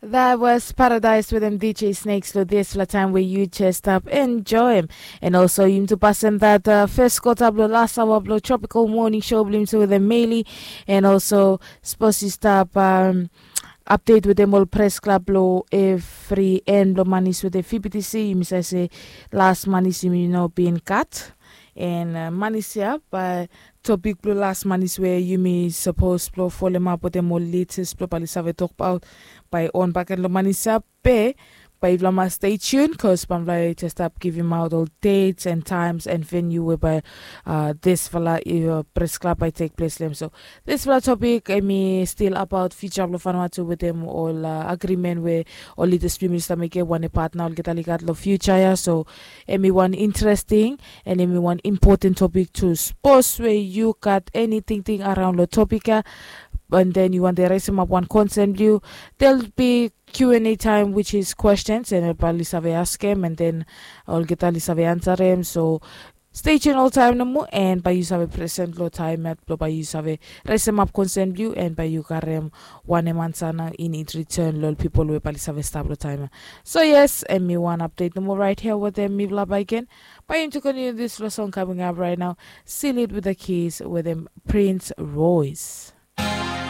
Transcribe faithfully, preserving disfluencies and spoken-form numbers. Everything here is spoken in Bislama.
That was Paradise with M D J Snakes lo dispela taim we yu just stap enjoy em. And also yumi tu pasem that uh, first quarter blo last hour blo Tropical Morning Show blo yumi tu with the Meli. And also suppose yu stap um, update with them all press club blo every end blo manis with the F B T C. Yumi sa se last manis yumi no bin cut. And uh, manis ya by topic blo last manis where yumi suppose blo folem up with them all latest blo bali save talk about by on back and lo manis ya be by yufala mas stay tuned cause bamfala just stop giving out all dates and times and venue whereby uh, this fala uh, press club by take place lem so this fala topic emi still about future of Vanuatu with them all uh, agreement where all leaders prime minister make one partner all get aligat lo future ya so emi one interesting and emi one important topic to suppose where you got anything thing around lo topic ya and then you want to raise him up one concern you there'll be Q and A time which is questions and bali save ask him and then olgeta li save answer him so stay tuned all time nomo and by you save present lo time at blo by you save raise him up concern you and by you karem wanem answer na in it return lo people we bali save stop lo time so yes and me one update nomo right here with them me bla by again by you to continue this lo song coming up right now seal it with the keys with them Prince Royce